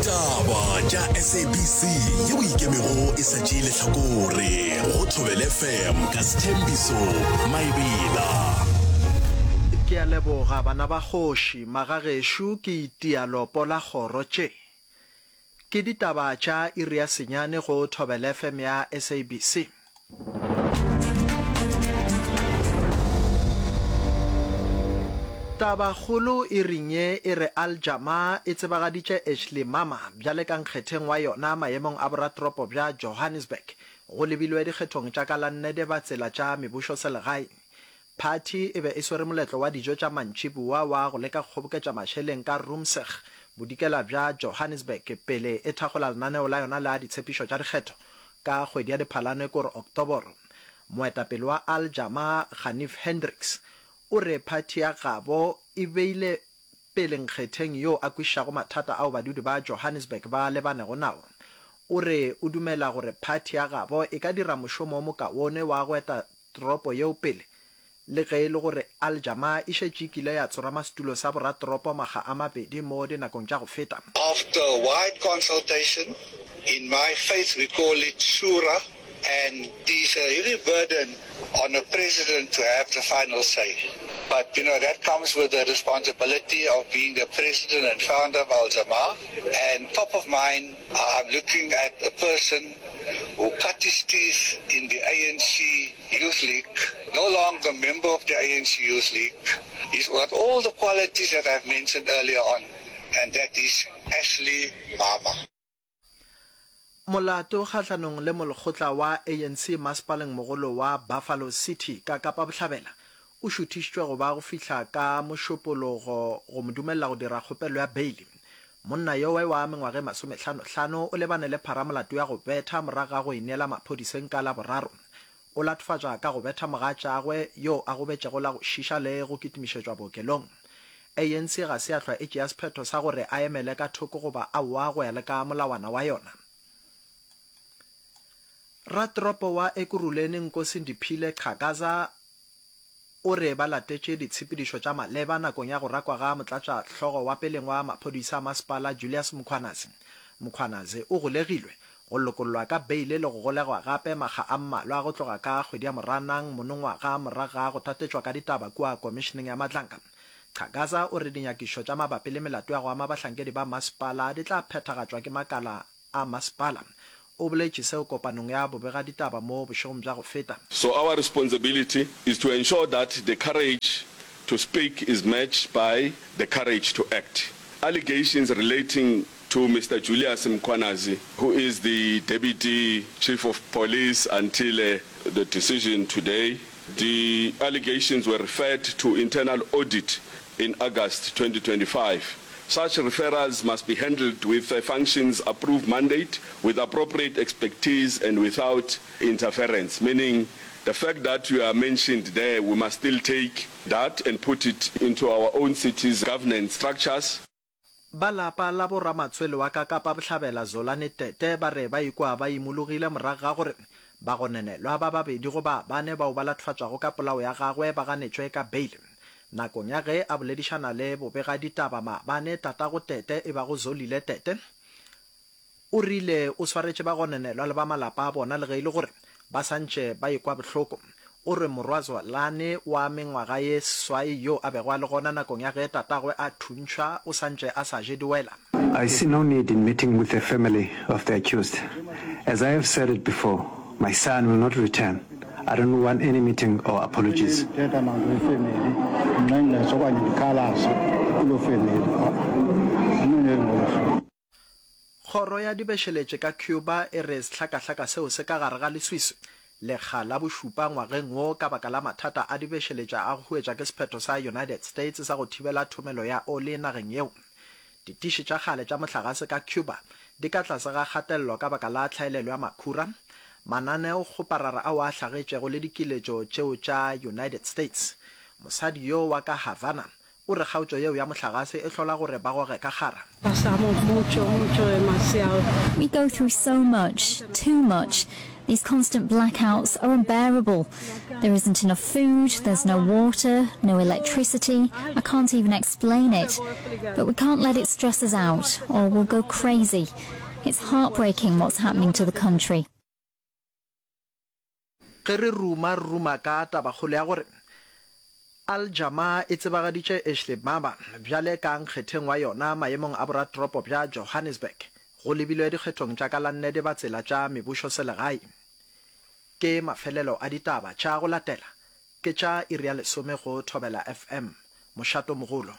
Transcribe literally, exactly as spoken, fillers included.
Ditaba tša S A B C yeo ikemego e sa tšee lehlakore go Thobela F M ka Sethembiso Maebela. Ke a leboga bana ba kgoši, magagešo ke itia lopo la kgoro tše. Ke ditaba tša iri ya senyane go Thobela F M ya S A B C. Tabakgolo iring ye e re Al Jama e tsebagaditše Ashley Mama bjale ka nkgetheng wa yona maemong a boratoropo bja Johannesburg go lebilwe dikgethong tša ka la nne Dibatsela tša mebušoselegae. Phathi e be e swere moletlo wa dijo tša mantšiboa wa go leka go kgoboketša mašeleng ka Roomseg, bodikela bja Johannesburg pele e thakgola lenaneo la yona la ditshepišo tša dikgetho ka kgwedi ya Diphalane kore Oktoboro. Moetapele wa Al Jama Ganief Hendricks o re phathi ya gabo e beile pele nkgetheng yo a kwešišago mathata ao badudi ba Johannesburg ba lebanego nao. O re o dumela gore phathi ya gabo e ka dira mošomo o mokaone wa go eta toropo yeo pele le ge e le gore Al Jama e šetše e kile ya tsorama setulo sa boratoropo makga a mabedi mo dinakong tša go feta. After wide consultation, in my faith we call it shura, and it is a heavy burden on a president to have the final say. But, you know, that comes with the responsibility of being the president and founder of Al Jama. And top of mind, I'm looking at a person who cut his teeth in the A N C Youth League, no longer member of the A N C Youth League. He's got all the qualities that I've mentioned earlier on, and that is Ashley Mama. Molato kgahlanong le molekgotla wa A N C masepaleng mogolo wa Buffalo City ka Kapa Bohlabela o šuthišitšwe go ba go fihla ka Mošupologo go mo dumelela go dira kgopelo ya beili. Monna yowe wa mengwaga e masomehlano-hlano o lebane le pharamolato ya go betha morago ga go ineela maphodiseng ka Laboraro. O latofatšwa ka go betha mogatšagwe yo a gobetšego la go šiša le go kitimišetšwa bookelong. A N C ga se ya hlwa e tšea sephetho sa gore a emele ka thoko goba aowa go ya le ka molawana wa yona. Ratoropo wa Ekurhuleni Nkosindiphile Xhakaza o re ba latetše ditshepedišo tša maleba nakong ya go rakwa ga motlatšahlogo wa peleng wa maphodisa a masepala Julius Mkhwanazi. Mkhwanazi o golegilwe, go lokollwa ka beile le go golegwa gape makga a mmalwa go tloga ka kgwedi ya Moranang monongwaga morago ga go tatetšwa ka ditaba kua Komišeneng ya Madlanga. Xhakaza o re dinyakišo tša mabapi le melato ya go ama bahlankedi ba masepala di tla phethagatšwa ke makala a masepala. O boletše seo kopanong ya bobegaditaba mo bošegong bja go feta. So our responsibility is to ensure that the courage to speak is matched by the courage to act. Allegations relating to Mister Julius Mkhwanazi, who is the Deputy Chief of Police until uh, the decision today, the allegations were referred to internal audit in August twenty twenty-five. Such referrals must be handled with a functions approved mandate, with appropriate expertise and without interference, meaning the fact that you are mentioned there, we must still take that and put it into our own city's governance structures. Ba lapa la boramatswele wa ka Kapa Bohlabela Zolani Tete ba re ba ikwa ba imologile morago ga gore bagononelwa ba babedi go ba bane bao ba latofatšwago ka polao ya gagwe ba ganetšwe ka beile. Nakong ya ge a boledišana le bobegaditaba maabane, tatago Tete e bago Zolile Tete o rile o swaretše bagononelwa le ba malapa a bona le ge e le gore ba santše ba ekwa bohloko. O re morwa Zolani wa mengwaga ye seswai yo a bego a le gona nakong ya ge tatagwe a thuntšhwa o santše a sa je diwela. I see no need in meeting with the family of the accused. As I have said it before, my son will not return. I don't want any meeting or apologies. Ndithetha nanto ifemeli ndinxenxe okanye ndikhalaze kuloo femeli andinoneli ngolo hlobo. Kgoro ya dibešeletše ka Cuba e re sehlakahlaka seo se ka gare ga leswiswi lekga la bošupa ngwageng wo ka baka la mathata a dibešeletša a go huetša ke sephetho sa United States sa go thibela thomelo ya oli nageng yeo. Ditiši tša kgale tša mohlagase ka Cuba di ka tlase ga kgatelelo ka baka la tlhaelelo ya makhura, mananeokgoparara ao a hlagetšego le dikiletšo tšeo tša United States. Mosadi yo wa ka Havana o re kgaotšo yeo ya mohlagase e hlola gore ba goge ka kgara. Pasamos mucho, mucho, demasiado. We go through so much, too much. These constant blackouts are unbearable. There isn't enough food, there's no water, no electricity. I can't even explain it. But we can't let it stress us out, or we'll go crazy. It's heartbreaking what's happening to the country. Ge re ruma, re ruma ka tabakgolo ya gore Al Jama e tsebagaditše Ashley Maba bjale ka nkgetheng wa yona maemong a boratoropo bja Johannesburg go lebilwe dikgethong tša ka la nne Dibatsela tša mebušoselegae. Ke mafelelo a ditaba tša go latela ke tša iri ya lesome go Thobela F M, mošatomogolo.